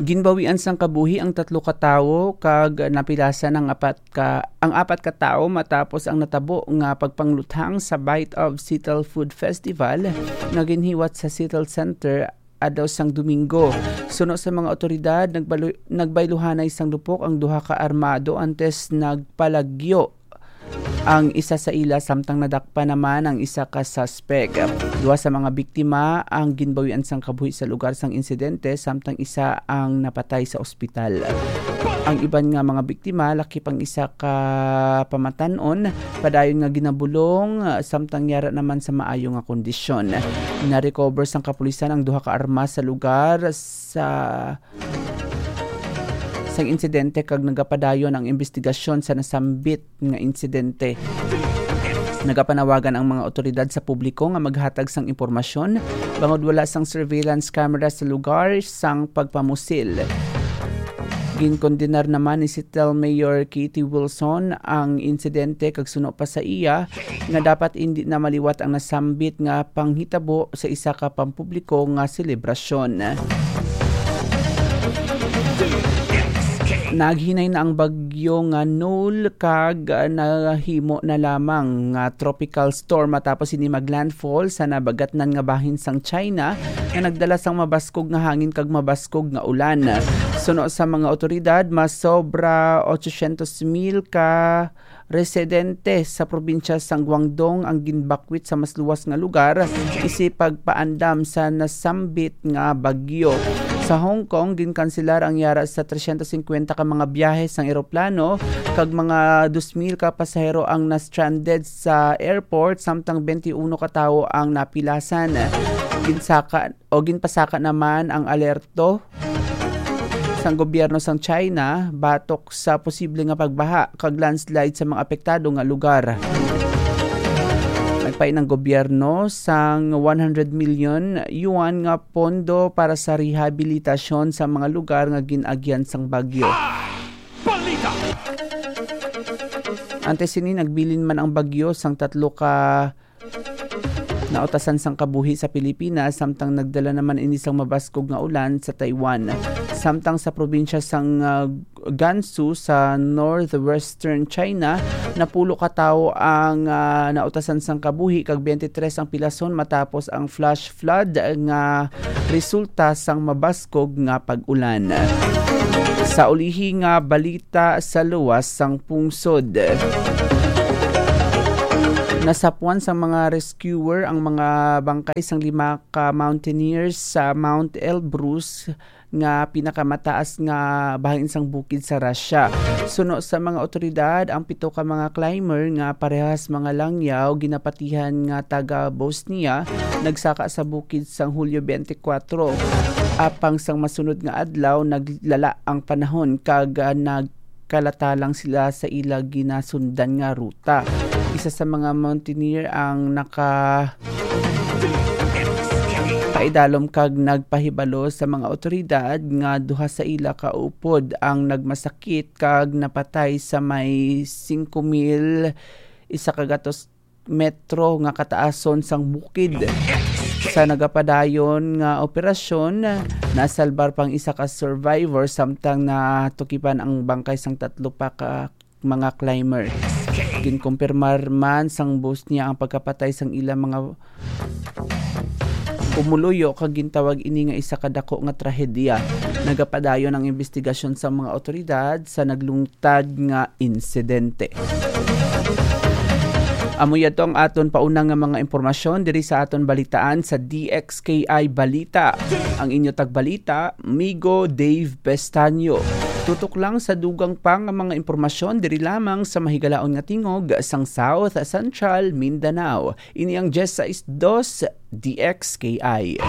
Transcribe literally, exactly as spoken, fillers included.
Ginbawian sang kabuhi ang tatlo ka tawo kag napilasan ang apat ka, ang apat ka tawo matapos ang natabo nga pagpangluthang sa Bite of Seattle Food Festival nga ginhiwat sa Seattle Center adlaw sang Domingo. Suno sa mga otoridad, nagbalu-, nagbayluhanay sang lupok ang duha ka armado antes nagpalagyo ang isa sa ila, samtang nadakpan naman ang isa ka suspek. Duha sa mga biktima ang ginbawian sang kabuhi sa lugar sang insidente, samtang isa ang napatay sa ospital. Ang iban nga mga biktima, lakip ang isa ka pamatan-on, padayon nga ginabulong, samtang yara naman sa maayo nga kondisyon. Na-recover sang kapulisan ang duha ka armas sa lugar sa sang insidente kag nagapadayon ang investigasyon sa nasambit nga insidente. Nagapanawagan ang mga otoridad sa publiko nga maghatag sang impormasyon bangod wala sang surveillance camera sa lugar sang pagpamusil. Ginkondenar naman ni Seattle Mayor Katie Wilson ang insidente kag suno pa sa iya nga dapat indi na maliwat ang nasambit nga panghitabo sa isa ka pampubliko nga selebrasyon. Naghinay na ang bagyo nga Noel kag nahimo na lamang nga tropical storm matapos ini maglandfall sa nabagatnan nga bahin sang China nga nagdala sang mabaskog nga hangin kag mabaskog nga ulan. Suno sa mga otoridad, mas sobra ochocientos mil ka residente sa probinsya sang Guangdong ang ginbakwit sa mas luwas nga lugar isip pagpaandam sa nasambit nga bagyo. Sa Hong Kong, ginkanselar ang yara sa trescientos cincuenta ka mga biyahe sang eroplano kag mga dos mil ka pasahero ang na-stranded sa airport, samtang twenty-one ka tawo ang napilasan. Ginsaka o ginpasaka naman ang alerto sang gobyerno sang China batok sa posible nga pagbaha kag landslide sa mga apektado nga lugar. Nagpain ang gobyerno sang one hundred million yuan nga pondo para sa rehabilitasyon sa mga lugar nga gin-agyan sang bagyo. Antes sini, nagbilin man ang bagyo sang tatlo ka nautasan sang kabuhi sa Pilipinas, samtang nagdala naman ini sang mabaskog nga ulan sa Taiwan. Samtang sa probinsya sang, ah, Gansu sa northwestern China, napulo ka tawo ang, ah, nautasan sang kabuhi kag twenty-three ang pilason matapos ang flash flood nga resulta sang mabaskog nga pag-ulan. Sa ulihi nga balita sa luwas sang pungsod, nasapwan sang mga rescuer ang mga bangkay sang lima ka mountaineers sa Mount Elbrus nga pinakamataas nga bahin sang bukid sa Russia. Suno sa mga otoridad, ang pito ka mga climber nga parehas mga langyaw ginapatihan nga taga Bosnia nagsaka sa bukid sang Hulyo twenty-four. Apang sang masunod nga adlaw, naglala ang panahon kag, ah, nagkalata lang sila sa ila ginasundan nga ruta. Isa sa mga mountaineer ang naka paidalom kag nagpahibalo sa mga otoridad nga duha sa ila ka upod ang nagmasakit kag napatay sa may singko mil isa ka gatos metro nga kataason sang bukid. Sa nagapadayon nga operasyon, nasalbar pang isa ka survivor, samtang natukipan ang bangkay sang tatlo pa ka mga climber. Ginkumpirmar man sang Bosnia ang pagkapatay sang ilang mga pumuluyo, kag gintawag ini nga isa ka dako nga trahedya. Nagapadayon ang investigasyon sa mga otoridad sa naglungtad nga insidente. Amo yadto ang aton pauna nga mga impormasyon diri sa aton balitaan sa D X K I Balita. Ang inyo tagbalita, Migo Dave Pestaño. Tutok lang sa dugang pa nga mga impormasyon diri lamang sa mahigalaon nga tingog sang South Central Mindanao. Ini ang diyes sais dos D X K I.